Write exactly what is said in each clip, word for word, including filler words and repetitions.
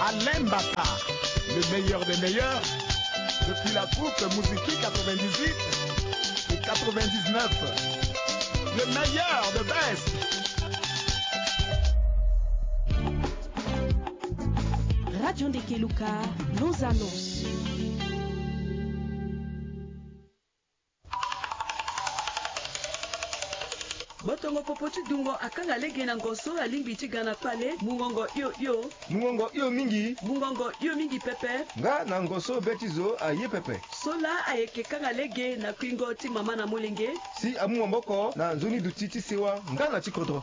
Alain Mbata, le meilleur des meilleurs, depuis la troupe Muziki quatre-vingt-dix-huit et quatre-vingt-dix-neuf. Le meilleur de best. Radio Ndekeluka, nos annonces. Botongo popo ti dungo akanga lege na ngo so alingbi ti ga na kpale, mungongo hio hio. Mungongo hio mingi. Mungongo hio mingi pepe. Nga na ngo so be ti zo aye pepe. So laa ayeke kanga lege na kuingo ti mama na molenge. Si amu maboko na nzoni duti ti sewa nga na ti kodro.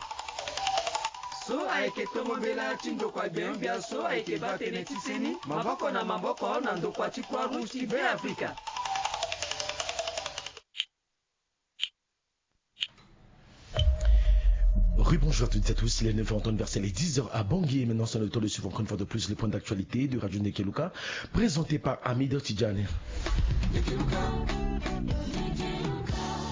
So ayeke tongo mbela ti ndokua gbengbia so ayeke baa tënë ti seni maboko na maboko na ndokua ti Croix Rouge ti Beafrika. Rebonjour à toutes et à tous, il est neuf heures en temps universel et dix heures à Bangui. Et maintenant, c'est le tour de suivre encore une fois de plus le point d'actualité de Radio Ndekeluka, présenté par Hamida Tidjani.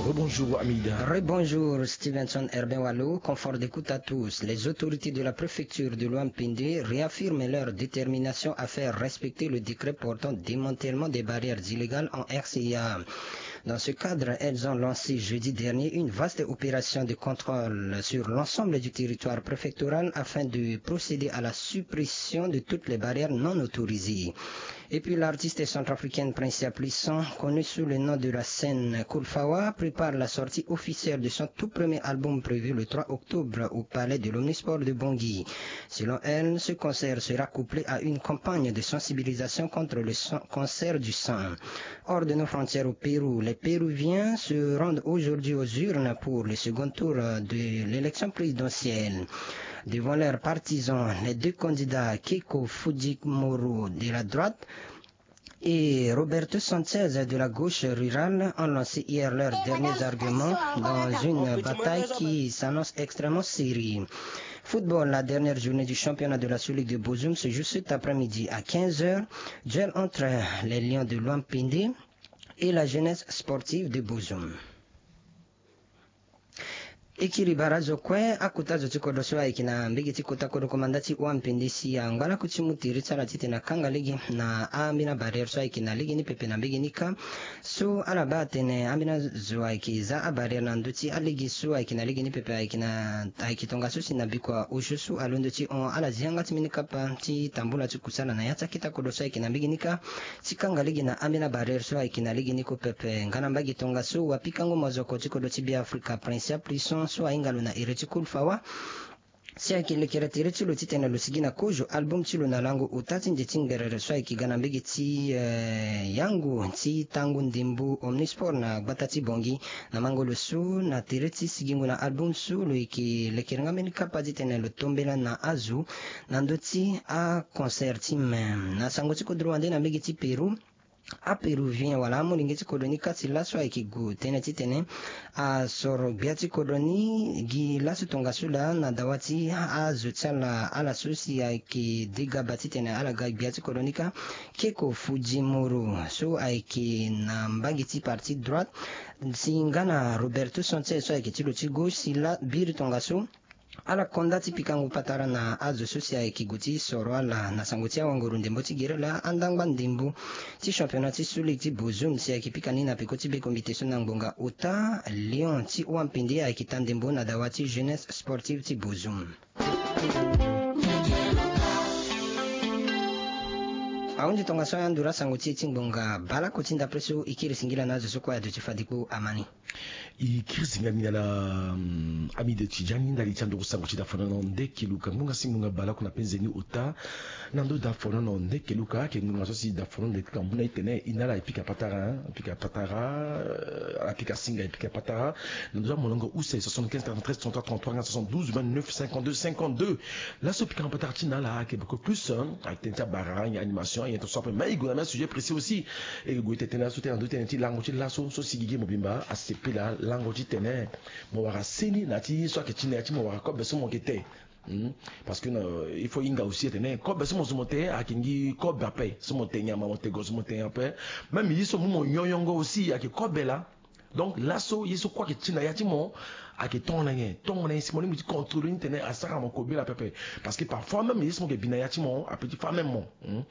Rebonjour Hamida. Rebonjour Stevenson Herbin Walo, confort d'écoute à tous. Les autorités de la préfecture de Loampindi réaffirment leur détermination à faire respecter le décret portant démantèlement des barrières illégales en R C A. Dans ce cadre, elles ont lancé jeudi dernier une vaste opération de contrôle sur l'ensemble du territoire préfectoral afin de procéder à la suppression de toutes les barrières non autorisées. Et puis l'artiste centrafricaine Princia Plisson, connue sous le nom de la scène Cool Fawa, prépare la sortie officielle de son tout premier album prévu le trois octobre au palais de l'Omnisport de Bangui. Selon elle, ce concert sera couplé à une campagne de sensibilisation contre le sang- cancer du sang. Hors de nos frontières au Pérou, les Péruviens se rendent aujourd'hui aux urnes pour le second tour de l'élection présidentielle. Devant leurs partisans, les deux candidats Keiko Fujimori de la droite et Roberto Sanchez de la gauche rurale ont lancé hier leurs derniers arguments dans une bataille qui s'annonce extrêmement serrée. Football, la dernière journée du championnat de la Sous-Ligue de Bozoum se joue cet après-midi à quinze heures. Duel entre les Lions de Loampindi et la Jeunesse Sportive de Bozoum. E kiri bara zo kue akota zo ti kodro so ayeke na mbege ti kota kodro komanda ti Oampindi si angba laku ti mu tere ti ala titene akanga lege na ambeni abarrière so ayeke na lege ni pepe na mbege ni kâ. So ala baa atene ambeni azo ayeke za abarrière na ndö ti alege so ayeke na lege ni pepe ayeke na ayeke tongaso si na bikua osio so alondo ti hon ala zi yanga ti mbeni kapa ti tambula ti kusala na ya ti aketa kodro so ayeke na mbege ni kâ. Ti kanga lege na ambeni abarrière so ayeke na lege ni kue pepe nga na mbage tongaso wapikango mozoko ti kodro ti Beafrika Princia Plisson so ahinga lo na iri ti Cool Fawa. Si ayeke lekere tere ti lo titene lo sigi na kozo album ti lo na lango ota ti nze ti ngerere so ayeke ga na mbege ti eh, yango ti tango ndembo Omnisport na gbata ti Bangui. Na mango lo so na tere ti sigingo na album so lo yeke lekere nga mbeni kapa titene lo tombela na azo na ndö ti aconcert ti mem na sango ti kodro wande na mbege ti Pérou. Apéruvien wala amolenge ti kodro ni kâ ti laso ayeke gue tënë titene asoro gbia ti kodro ni gi laso tongaso laa na dawa ti azo ti ala ala so si ayeke de ga baa titene ala ga gbia ti kodro ni kâ. Keiko Fujimori so ayeke na mbage ti parti droite si nga na Roberto Sanchez so ayeke ti lo ti gauche si la biri tongaso. Ala konda ti pikango patara na azo so si ayeke gue ti soro ala na sango ti awanguru ndembo ti gere laa andangba ndembo ti championnat ti Sous-Ligue ti Bozoum si ayeke pika ni na peko ti be komite so na ngbonga ota Lion ti Oampindi ayeke ta ndembo na dawa ti Jeunesse Sportive ti Bozoum. Ahunzi tongaso ayandura sango ti e ti ngbonga baleoko ti ndapre so e kiri singila na azo so kue aduti fadikpo amani. E kiri singila ni na ala. Amide Tidjani ndali ti anduru sango ti dafonono Ndekeluka ngbonga si ngbonga baleoko na penze ni ota. Na ndö dafonono Ndekeluka ayeke ngbonga so si dafonono Ndekeluka amu na e tene e na ala e pika patara e pika patara. Ala pika singa e pika patara. Na ndö ti amolongo use soixante-quinze quarante-treize trente-trois trente-trois nga soixante-douze vingt-neuf cinquante-deux cinquante-deux. Laso pikango patara ti na ala ayeke beaucoup plus ayeke tënë ti abara anyen animation anyen tongaso ape me e gue na me sujet précis aussi. E gue tene tënë laso tënë na ndö ti tënë ti lango ti laso so si gigi mobimba asepela lango ti tene mo wara seni na ya ti so ayeke ti na ya ti mo wara kobe so mo yeke te. Parce que il faut hinga aussi atene kobe so mo zo mo te ayeke ngi kobe ape so mo te nyama mo te go so mo te nyen ape. Même ye so mu mo nyonyongo aussi ayeke kobe laa. Donc laso ye so kue ayeke ti na ya ti mo, ayeke tongana nyen? Tongana nyen si mo lingbi ti contrôler ni tene asara mo kobela pepe? Parce que parfois même ye so mo yeke bi na ya ti mo ape ti fa même mo. Hmm?